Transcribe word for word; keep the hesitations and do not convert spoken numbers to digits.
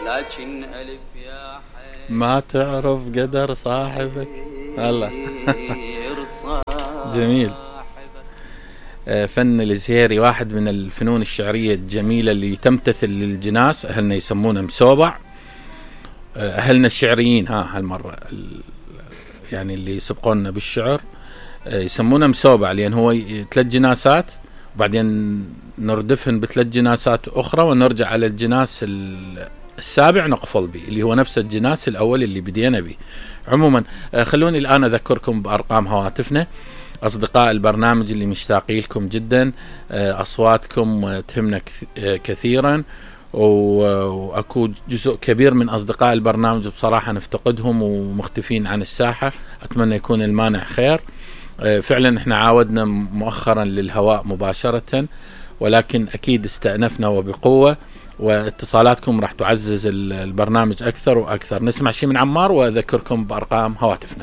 لكن ألف يا حي ما تعرف قدر صاحبك. الله جميل. فن الزهيري واحد من الفنون الشعرية الجميلة اللي تمتثل للجناس. أهلنا يسمونه مسوبع. أهلنا الشعريين ها هالمرة يعني اللي يسبقونا بالشعر يسمونه مسوبع، لأن هو ثلاث جناسات وبعدين نردفهن بثلاث جناسات أخرى ونرجع على الجناس السابع نقفل به، اللي هو نفس الجناس الأول اللي بدينا به. عموما خلوني الآن أذكركم بأرقام هواتفنا. أصدقاء البرنامج اللي مشتاقين لكم جدا، أصواتكم تهمنا كثيرا، وأكو جزء كبير من أصدقاء البرنامج بصراحة نفتقدهم ومختفين عن الساحة. أتمنى يكون المانع خير. فعلا احنا عاودنا مؤخرا للهواء مباشرة، ولكن أكيد استأنفنا وبقوة، واتصالاتكم راح تعزز البرنامج أكثر وأكثر. نسمع شيء من عمار وأذكركم بأرقام هواتفنا.